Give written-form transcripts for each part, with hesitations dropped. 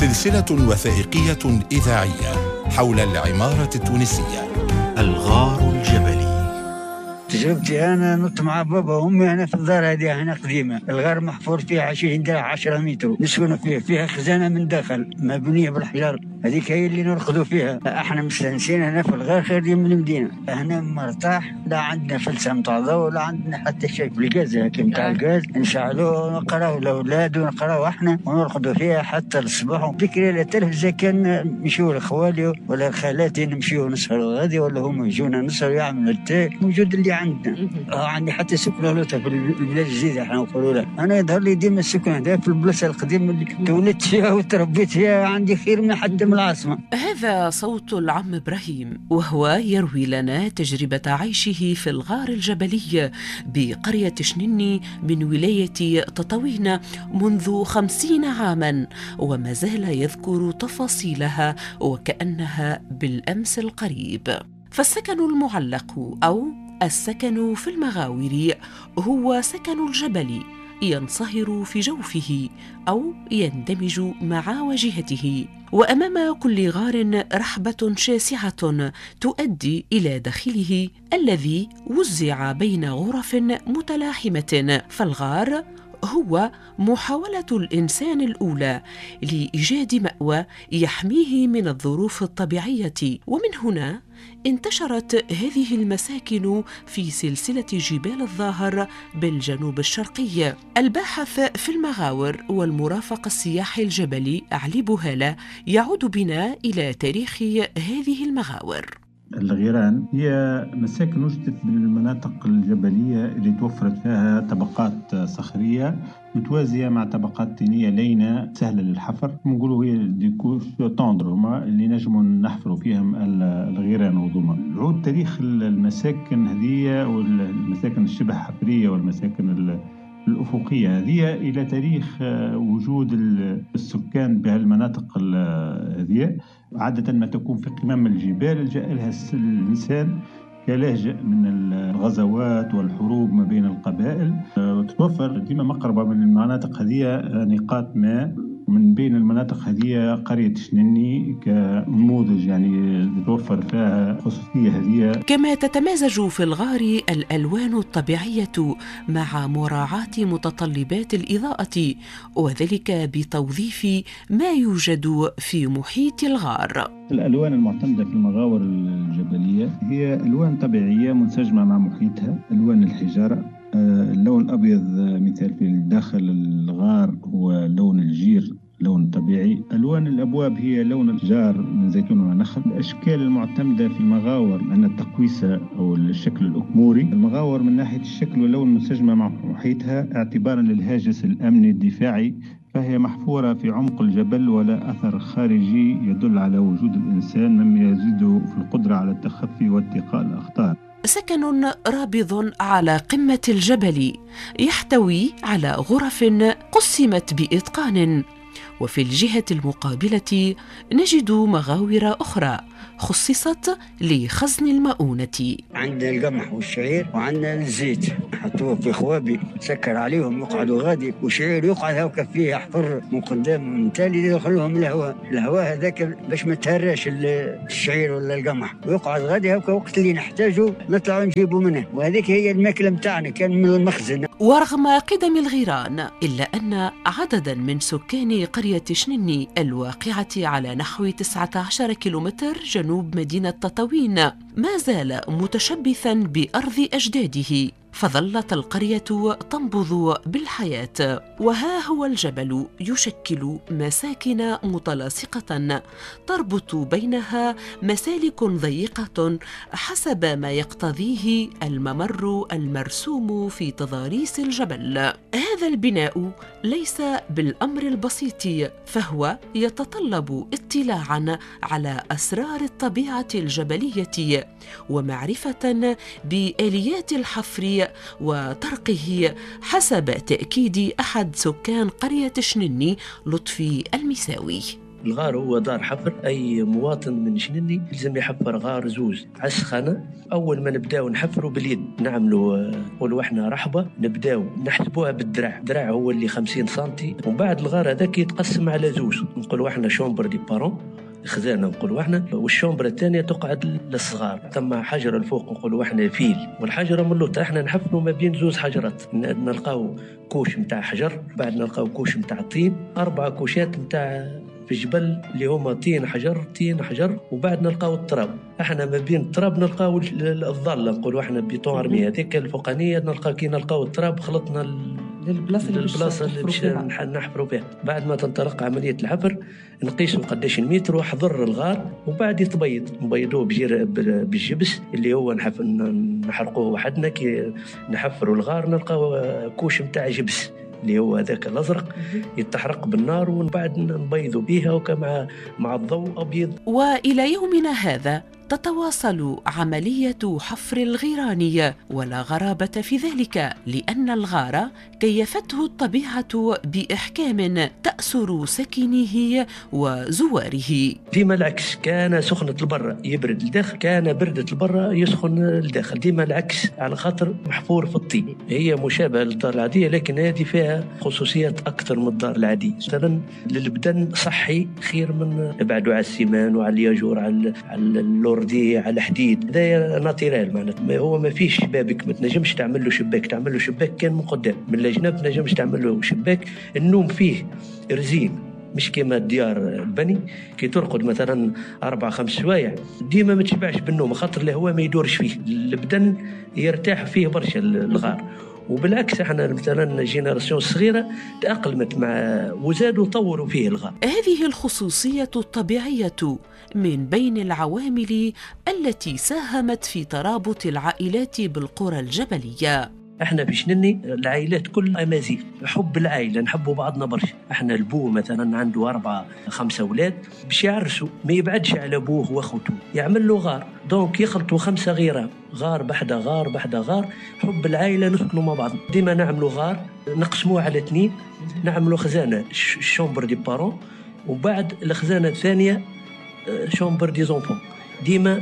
سلسلة وثائقية إذاعية حول العمارة التونسية. الغار الجبلي. تجربتي انا نط مع بابا وامي هنا في الدار هذه هنا قديمة، الغار محفور فيها 20 درع 10 متر، نسكنوا فيه، فيها خزانه من داخل مبنية بالحجر، هذيك هي اللي نرقدوا فيها. احنا مستانسين هنا في الغار خير من المدينة، هنا مرتاح، لا عندنا فلسه نتاع ضوء لا عندنا حتى شيء. بالغاز هكا نتاع الغاز نشعلوه ونقراو الاولاد ونقراو احنا ونرقدوا فيها حتى الصباح. بكري لا تلفزه كان نمشيو لخوالي ولا خالاتي، نمشيو نسهروا غادي ولا هما يجونا نسهروا يعملوا التاي موجود اللي عندنا. عندي حتى سكنة لوطة في البلاد الجديدة احنا نقولوا لها. أنا يظهر لي ديما السكن هذا في البلاصة القديمة اللي تولدت فيها وتربيت فيها، عندي خير من حتى من العاصمة. هذا صوت العم إبراهيم وهو يروي لنا تجربة عيشه في الغار الجبلي بقرية شنني من ولاية تطاوين منذ 50 عاما، وما زال يذكر تفاصيلها وكأنها بالأمس القريب. فالسكن المعلق أو السكن في المغاور هو سكن الجبل ينصهر في جوفه أو يندمج مع واجهته، وأمام كل غار رحبة شاسعة تؤدي إلى داخله الذي وزع بين غرف متلاحمة. فالغار هو محاولة الإنسان الأولى لإيجاد مأوى يحميه من الظروف الطبيعية، ومن هنا انتشرت هذه المساكن في سلسلة جبال الظاهر بالجنوب الشرقي. الباحث في المغاور والمرافق السياحي الجبلي علي بوهالة يعود بنا إلى تاريخ هذه المغاور. الغيران هي مساكن وجدت بالمناطق الجبلية اللي توفرت فيها طبقات صخرية متوازية مع طبقات طينية لينة سهلة للحفر، نقولوا هي des couches tendres هما اللي نجموا نحفروا فيهم الغيران وضوما. عود تاريخ المساكن هذه والمساكن الشبه حفرية والمساكن الأفقية هذه إلى تاريخ وجود السكان بهالمناطق هذه. عادة ما تكون في قمم الجبال لجأ لها الإنسان كلاجئ من الغزوات والحروب ما بين القبائل. وتتوفر ديما مقربة من المناطق هذه نقاط ماء، من بين المناطق هذه قرية شنني كنموذج يعني تتوفر فيها خصوصية هذه. كما تتمازج في الغار الألوان الطبيعية مع مراعاة متطلبات الإضاءة، وذلك بتوظيف ما يوجد في محيط الغار. الألوان المعتمدة في المغاور الجبلية هي ألوان طبيعية منسجمة مع محيطها، ألوان الحجارة. اللون الأبيض مثال في داخل الغار هو لون الجير، لون طبيعي. ألوان الأبواب هي لون الجار من زيتون ونخل. الأشكال المعتمدة في المغاور أن التقويسة أو الشكل الأكموري. المغاور من ناحية الشكل واللون منسجمة مع محيطها اعتبارا للهاجس الأمني الدفاعي، فهي محفورة في عمق الجبل ولا أثر خارجي يدل على وجود الإنسان، مما يزيد في القدرة على التخفي واتقاء الأخطار. سكن رابض على قمة الجبل يحتوي على غرف قسمت بإتقان، وفي الجهة المقابلة نجد مغاور أخرى خصصت لخزن المؤونة. عندنا القمح والشعير وعندنا الزيت، نحطوه في خوابي سكر عليهم يقعدوا غادي، وشعير يقعد هاكا فيه حفر من قدام ومن تالي يدخلهم الهواء، الهواء هذاك باش ما تهراش الشعير ولا القمح، ويقعد غادي هاكا وقت اللي نحتاجه نطلعوا نجيبوا منه، وهذيك هي الماكلة نتاعنا كان من المخزن. ورغم قدم الغيران إلا أن عددا من سكان قرية شنني الواقعة على نحو 19 كيلومتر جنوب مدينة تطاوين ما زال متشبثا بأرض أجداده، فظلت القرية تنبض بالحياة. وها هو الجبل يشكل مساكن متلاصقة تربط بينها مسالك ضيقة حسب ما يقتضيه الممر المرسوم في تضاريس الجبل. هذا البناء ليس بالأمر البسيط، فهو يتطلب اطلاعا على أسرار الطبيعة الجبلية ومعرفة بآليات الحفر وطرقه، حسب تأكيد أحد سكان قرية شنني لطفي المساوي. الغار هو دار حفر، أي مواطن من شنني لازم يحفر غار زوز على السخانة. أول ما نبداو نحفروا باليد، نعملوا نقولوا احنا رحبة، نبداو نحسبوها بالدراع، الدراع هو اللي 50 سنتي، ومن بعد الغار هذاك يتقسم على زوز، نقولوا احنا chambre des parents خزانه نقولوا احنا، وال chambre الثانية تقعد للصغار. ثم حجره الفوق نقولوا احنا فيل، والحجرة من اللوطه احنا نحفروا ما بين زوز حجرات، نلقاو couche نتاع حجر، بعد نلقاو couche نتاع طين، 4 كوشات نتاع في الجبل اللي هما طين حجر طين حجر، وبعد نلقاو التراب. احنا ما بين التراب نلقاو الظله، نقولوا احنا béton armé هذيك الفوقانيه، نلقاو كي نلقاو التراب خلطنا للبلاصه اللي باش نحفروا فيها. بعد ما تنطلق عملية الحفر نقيسوا قداش المتر وحضر الغار، وبعد يتبيض، نبيضوه بالجبس اللي هو نحرقوه وحدنا. كي نحفروا الغار نلقاو couche نتاع جبس اللي هو هذاك الازرق يتحرق بالنار، ومن بعد نبيضوا بها وكما مع الضوء ابيض. والى يومنا هذا تتواصل عملية حفر الغيران، ولا غرابة في ذلك لأن الغار كيفته الطبيعة بإحكام تأسر سكنه وزواره. ديما العكس، كان سخنة البرة يبرد الداخل، كان بردة البرة يسخن الداخل، ديما العكس على خاطر محفور في الطين. هي مشابهة للدار العادية، لكن هذه فيها خصوصيات أكثر من الدار العادية. مثلا للبدن صحي خير من بعدو على ال ciment وعلى الياجور على اللور دي على حديد، هذا naturel معناتها. هو ما فيش شبابك، ما تنجمش تعمل له شباك، تعمل له شباك كان من قدام، من الجناب ما تنجمش تعمل له شباك. النوم فيه رزين، مش كما الديار البني كي ترقد مثلا 4-5 سوايع ديما ما تشبعش بالنوم، خاطر الهواء ما يدورش فيه، البدن يرتاح فيه برشا الغار. وبالعكس احنا مثلا génération الصغيرة تاقلمت مع وزادوا طوروا فيه الغار. هذه الخصوصية الطبيعية من بين العوامل التي ساهمت في ترابط العائلات بالقرى الجبلية. احنا في شنني العائلات كل امازيغ، حب العائلة، نحبوا بعضنا برشا. احنا البو مثلا عنده 4-5 اولاد باش يعرسوا، ما يبعدش على ابوه واخوته، يعمل له غار، donc يخلطوا 5 غيران، غار بحدا غار بحدا غار. حب العائلة نسكنوا مع بعض، ديما نعملوا غار نقسموه على 2، نعملوا خزانه chambre des parents، وبعد الخزانة الثانية chambre des enfants. ديما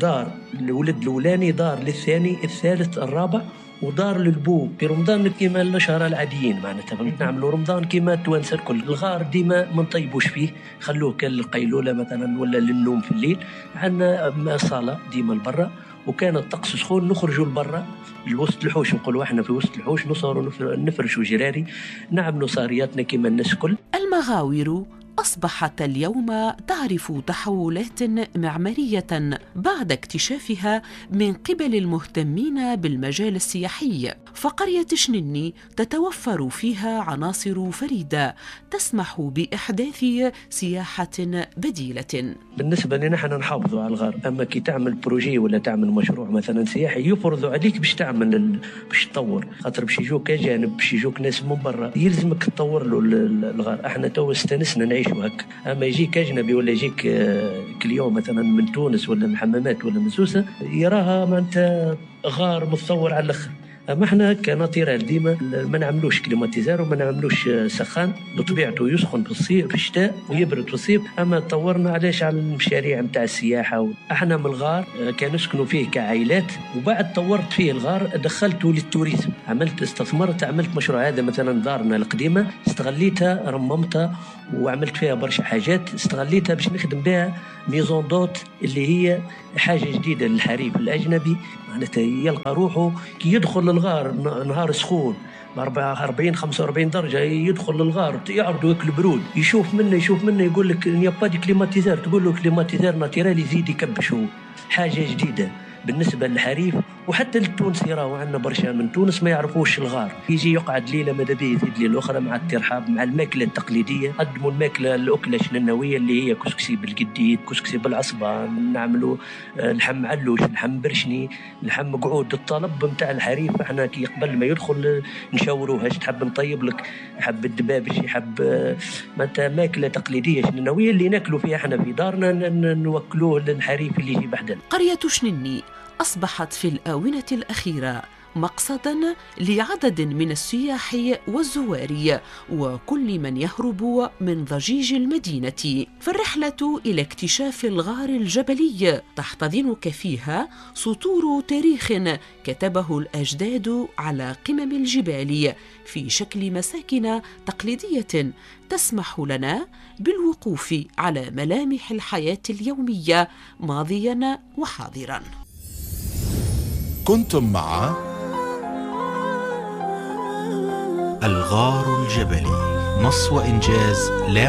دار الولد الاولاني، دار للثاني، الثالث، الرابع، ودار للبو. في رمضان كيما الشهر العاديين معناتها نعملوا رمضان كيما التوانسة الكل. الغار ديما ما نطيبوش فيه، خلوه كان للقيلوله مثلا ولا للنوم في الليل. عندنا صاله ديما لبرا، وكان الطقس سخون نخرجوا لبرا لوسط الحوش، نقولوا احنا في وسط الحوش نصوروا نفرشوا جراري، نعملوا صارياتنا كيما الناس الكل. المغاور أصبحت اليوم تعرف تحولات معمارية بعد اكتشافها من قبل المهتمين بالمجال السياحي، فقرية شنني تتوفر فيها عناصر فريدة تسمح بإحداث سياحة بديلة. بالنسبة لنا احنا نحافظوا على الغار، أما كي تعمل projet ولا تعمل مشروع مثلا سياحي يفرضوا عليك باش تعمل باش تطور، خاطر باش يجوك أجانب، باش يجوك ناس من برا، يلزمك تطور له الغار. احنا تو استانسنا نعيش هكا، اما يجيك اجنبي ولا يجيك client مثلا من تونس ولا من حمامات ولا من سوسة يراها معناتها غار متطور على الاخر. اما احنا ك naturel ديما ما نعملوش climatiseur وما نعملوش سخان، بطبيعته يسخن في الصيف في الشتاء ويبرد في الصيف. اما طورنا علاش على المشاريع نتاع السياحة. احنا من الغار كان نسكنوا فيه كعائلات، وبعد طورت فيه الغار دخلته لل tourisme، عملت استثمرت، عملت مشروع. هذا مثلا دارنا القديمة استغليتها، رممتها وعملت فيها برشا حاجات، استغليتها باش نخدم بها maison d'hôtes اللي هي حاجة جديدة للحريف الاجنبي، معناتها يلقى روحه كي يدخل للغار نهار سخون 44-45 درجه، يدخل للغار يعرضوا ياكل برود، يشوف منه يقول لك y a pas de climatiseur، تقول له climatiseur naturel يزيد يكبش. هو حاجة جديدة بالنسبة للحريف وحتى للتونسي، راهو عندنا برشا من تونس ما يعرفوش الغار، يجي يقعد ليلة ماذا به يزيد ليلة اخرى مع الترحاب مع الماكلة التقليدية. قدموا الماكلة الاكلة الشننويه اللي هي كسكسي بالقديد، كسكسي بالعصبان، نعملوا لحم علوش، لحم برشني، لحم قعود. الطلب نتاع الحريف احنا كي قبل ما يدخل نشاوروه اش تحب نطيب لك، حب الدبابش، يحب معناتها ماكله تقليدية شننويه اللي ناكلوا فيها احنا في دارنا نوكلوه للحريف اللي يجي بحدنا. قرية شنني أصبحت في الآونة الأخيرة مقصدا لعدد من السياح والزوار وكل من يهرب من ضجيج المدينة. فالرحلة إلى اكتشاف الغار الجبلي تحتضنك فيها سطور تاريخ كتبه الأجداد على قمم الجبال في شكل مساكن تقليدية تسمح لنا بالوقوف على ملامح الحياة اليومية ماضيا وحاضرا. كنتم مع الغار الجبلي، نص وإنجاز لا